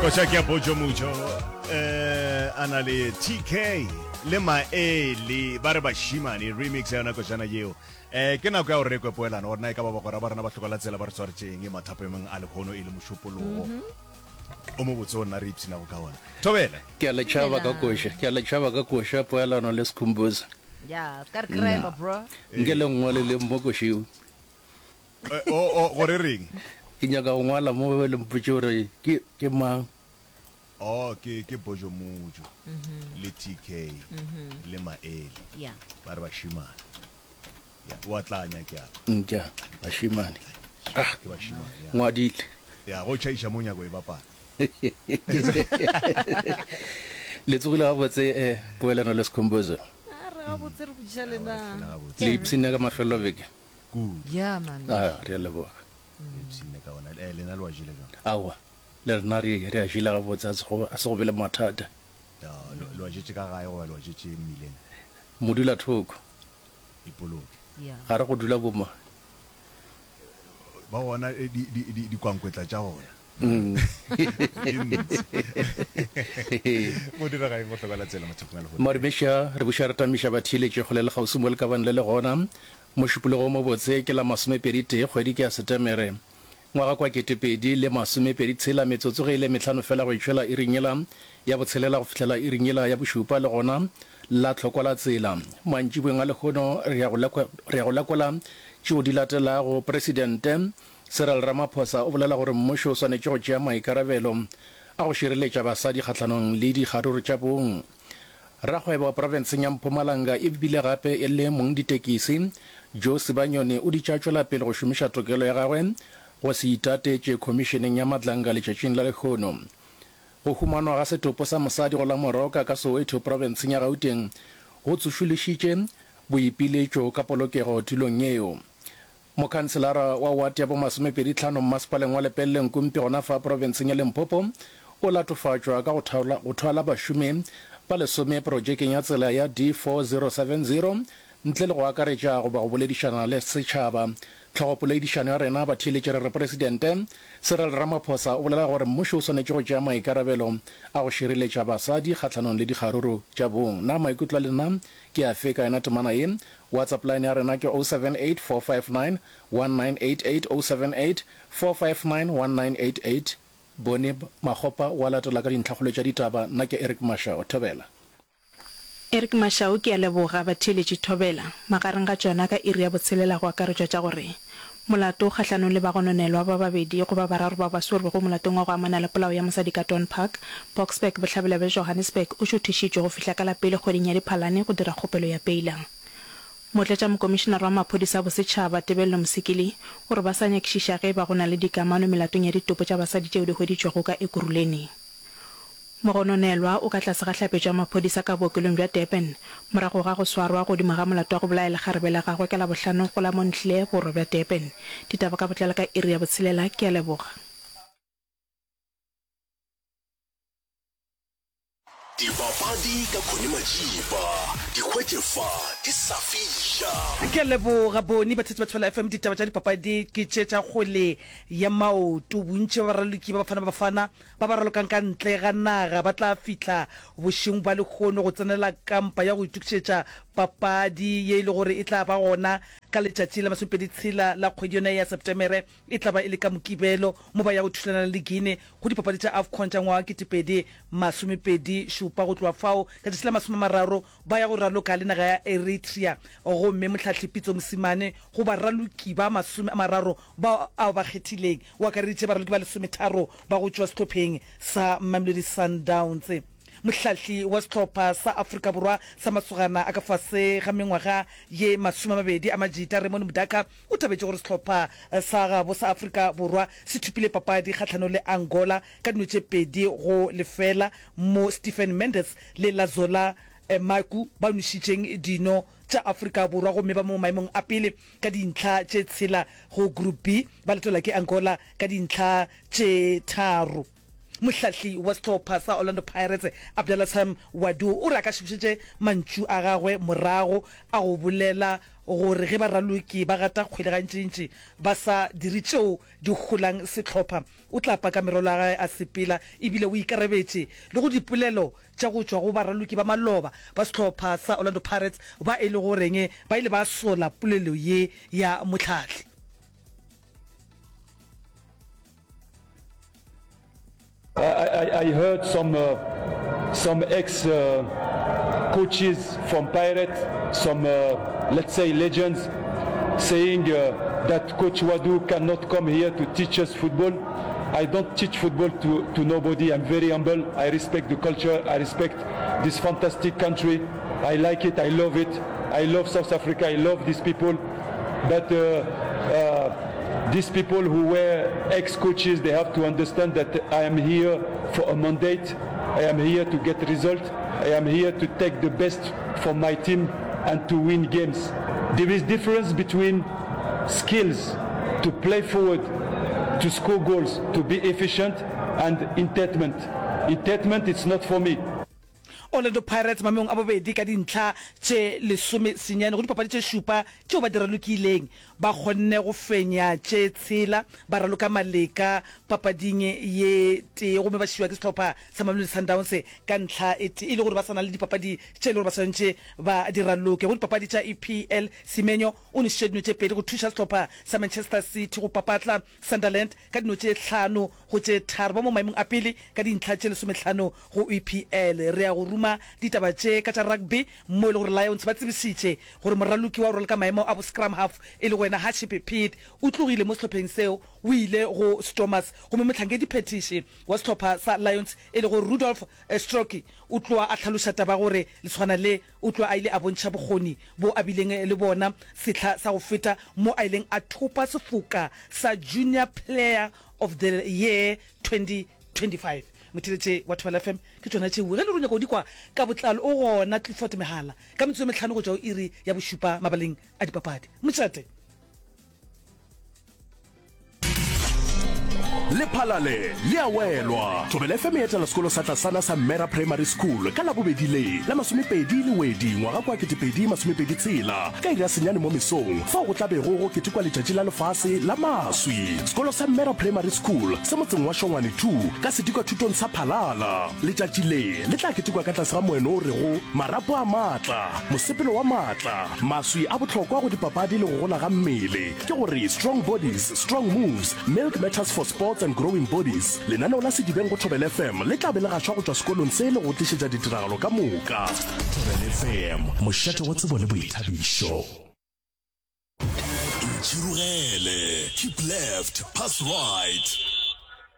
Koša ke ya Bojo Mujo eh a na le TK le Maele ba re bashimane remix ya yona košana yeo. Eh ke nako ya gore re kwe poelano gore na e ka ba bagwera ba rena ba hloka la tsela ba re swaretšeng mathapemeng a lehono e le mošupologo. O mobotse o nna re ipshinago ka ona. Thobela. Ke a le tšhaba ka koša, ke a le tšhaba ka koša poelano le Skhumbuzo. Ya, ska re kreba bro. Nke le nngwaleleng mo košeo. Eh, o, o, gore reng? Ke nyaka go ngwala mo le mpotše gore ke, ke mang. Oh, ke, ke Bojo Mojo, le TK, le Maele. Yeah. Ba re bašemane. Ya, wa tlanya ke a kwa. Ntša, bašemane. Ah, ke bašemane, ya. Ngwadile. Ya, go tšhaiša mo nyako e bapala. Le tsogile gabotse, eh, Poelano le Skhumbuzo. A re gabotse re botšiša lena. Le ipshinne ka mafelelo beke? Kudu. Yeah man. A, re a leboga. Le ipshinne ka ona. Eh, lena le wa jele jwang? Aowa, le rena re, re a jele gabotse, a se go, a se go be le mathata. Ya, le, le wa jetše ka gae goba le wa jetše mmileng? Modulathoko. Ipoloke. Yeah. Ga re go dula boma. Ba gona eh, di, di, di, dikwankwetla tša gona. Mm. Di ntsi. Go direga eng go hloka la tsela mathapong a lehono? Madumeša, re buša re tamiša batheeletši kgole le kgauswi mo le ka bang le le gona. Mošupologo o mobotse ke la masomepedi-tee kgwedi ke ya Setemere ngwaga kwa 2026, metsotso ge e le mehlano fela go itšwela iring yela ya botshelela go fihlela iring yela ya bošupa le gona la tlhokwa la tsela. Mantšiboeng a lehono re ya go re ya go lekola tšeo di latelago. Presidente Cyril Ramaphosa o bolela gore mmušo o swanetše go tšea maikarabelo a go šireletša basadi kgahlanong le dikgaruru tša bong. Rakgwebo wa profenseng ya Mpumalanga e bile gape e le mongditekisi, Joe Sibanyoni o ditše a tšwela pele go šomiša tokelo ya gagwe go se itatetše khomišeneng ya Madlanga letšatšing la lehono. Go humanwa ga setopo sa mosadi go la Moroka ka Soweto profenseng ya Gauteng go tsošološitše boipiletšo ka polokego tulong yeo. Mokhanselara wa wate ya bomasomepedi tlhano mmasepaleng wa Lepelle Nkumpi gona fa profenseng ya Limpopo o latofatšwa ka go go thwala bašomi ba lesome projekeng ya tsela ya D4070 ntle le go akaretša goba go boledišana le setšhaba. Tlhogopoledišano ya rena batheeletši re re Presidente Cyril Ramaphosa o bolela gore mmušo o swanetše go tšea maikarabelo a go šireletša basadi kgahlanong le dikgaruru tša bong. Na maikutlo a lena ke afe ka yona temana ye? WhatsApp line ya rena ke 078 459 1988, 078 459 1988. Bone Makgopa wa latela ka dintlhakgolo tša ditaba. Nna ke Eric Mashau. Thobela. Eric Mashau, Ke a leboga, batheeletši Thobela. Magareng ga tšona ka iri ya botshelela go akaretšwa tša gore molato kgahlanong le bagononelwa ba babedi goba bararo bao ba swerwego molatong wa go amana le polao ya mosadi ka Dawn Park, Boksburg, bohlabela bja Johannesburg o šuthišitšwe go fihla ka la pele kgweding ya Diphalane go dira kgopelo ya peila. Motlatšamokomišenare wa maphodisa a bosetšhaba, Tebello Mosikili, o re ba sa nyakišiša ge e ba go na le dikamano melatong ya ditopo tša basadi tšeo di hweditšwego ka Ekurhuleni. Mogononelwa o ka tlase ga hlapetšo ya maphodisa ka bookelong bja Durban morago ga go swarwa godimo ga molato wa go bolaya lekgarebe la gagwe ka Labohlano go la Montle, borwa bja Durban. Ditaba ka botlalo ka iri ya botshelela. Ke a leboga. Dipapadi ka Connie Majiba, di hwetše fa di sa fiša. Ke a leboga Boni. Batheetši ba Thobela FM, ditaba tša dipapadi ke tše tša kgwele ya maoto. Bontši bja baraloki ba Bafana Bafana ba ba ralokang ka ntle ga naga ba tla fihla bošeng bja lehono go tsenela kampa ya go itokišetša papadi ye e le gore e tla ba gona ka letšatši la masomepedi tshela la kgwedi yona ya Septemere. E tla ba e le ka Mokibelo mo ba yago thulana le Guinea go dipapadi tša Afcon tša ngwaga wa 2027. Go tloga fao, ka tšatši la masomemararo ba ya go raloka le naga ya Eritrea gomme mohlahli Pitso Mosimane go baraloki ba 30 bao a ba kgethileng o akareditše baraloki ba lesometharo ba go tšwa sehlopheng sa Mamelodi Sundowns. Mohlahli wa sehlopha sa Afrika Borwa sa masogana a ka fase ga mengwaga ye 20 a Majita, Raymond Mdaka, O thabetše gore sehlopha sa gabo sa Afrika Borwa se thopile papadi kgahlanong le Angola ka dino tše 2-0 mo Stephen Mendes le Lazola Maku ba nwešitšeng dino tša Afrika Borwa gomme ba mo maemong a pele ka dintlha tše tshela go Group B ba latelwa ke Angola ka dintlha tše tharo. Mohlahli wa sehlopha sa Orlando Pirates, Abdallah Ouaddou, o re a ka se bušetše mantšu a gagwe morago a go bolela gore ge baraloki ba gata kgwele gantšintši ba sa dire tšeo di holang sehlopha, o tla paka merwalo ya gagwe a sepela ebile o ikarabetše le go dipolelo tša go tšwa go baraloki ba maloba ba sehlopha sa Orlando Pirates ba e lego goreng ba ile ba sola polelo ye ya mohlahli. I, I, I heard some, uh, some ex uh, coaches from Pirates, some, uh, let's say, legends, saying uh, that Coach Ouaddou cannot come here to teach us football. I don't teach football to, to nobody. I'm very humble. I respect the culture. I respect this fantastic country. I like it. I love it. I love South Africa. I love these people. But uh, uh, these people who were ex-coaches, they have to understand that I am here for a mandate. I am here to get results. I am here to take the best from my team and to win games. There is difference between skills to play forward, to score goals, to be efficient, and entitlement. Entitlement, it's not for me. Orlando Pirates mameong a bobedi ka dintlha tše lesomesenyane go dipapadi tše šupa tšeo ba di ralokileng. Ba kgonne go fenya tše tshela, ba raloka maleka papading ye tee gomme ba šiwa ke sehlopha sa Mamelodi Sundowns ka ntlha e tee e le gore ba sa na le dipapadi tše e le gore ba swanetše ba di raloke. Go dipapadi tša EPL, Semenyo o nwešitše dino tše pedi go thuša sehlopha sa Manchester City go papatla Sunderland ka dino tše hlano go tše tharo, ba mo maemong a pele ka dintlha tše lesomehlano go EPL. Re ya go ruma ditaba tše ka tša rugby mo e le gore Lions ba tsebišitše gore moraloki wa go raloka maemo a bo scrum half e lego yena Haship Pead o tlogile mo sehlopheng seo o ile go Stormers gomme mohlankedi-phethiši wa sehlopha sa Lions e lego Rudolf Strocke o tloa a hlaloša taba gore lesogana le o tloa a ile a bontšha bokgoni bo a bileng le bona sehla sa go feta mo a ileng a thopa sefoka sa Junior Player of the Year 2025. Motheeletše wa Thobela FM, ke tšona tšeo. Ge e le gore o nyaka go di kwa ka botlalo, o gona Clifford Mehala ka metsotso e mehlano go tšwa go iri ya bošupa mabaleng a dipapadi. Mošate. Lephalale le a welwa. Thobela FM e etela sekolo sa tlasana sa Mera Primary School ka Labobedi le la masomepedi Lewedi ngwaga kwa 2026 ka iri ya senyane mo mesong fao go tla bego go ketekwa letšatši la lefase la maswi. Sekolo sa Mera Primary School se motseng wa Shongwane 2 ka sedikwathutong sa Phalala. Letšatši le le tla ketekwa ka tlase ga moeno o rego Marapo a maatla, mosepelo wa maatla. Maswi a bohlokwa go dipapadi le go gola ga mmele, ke gore Strong Bodies, Strong Moves, Milk Matters for Sports and Growing Bodies. Lenaneo la Sedibeng go Thobela FM le tla be le gašwa go tšwa sekolong se le go tlišetša ditiragalo ka moka. Thobela FM, mošate wa tsebo le boithabišo. Ntšhirogele, keep left, pass right.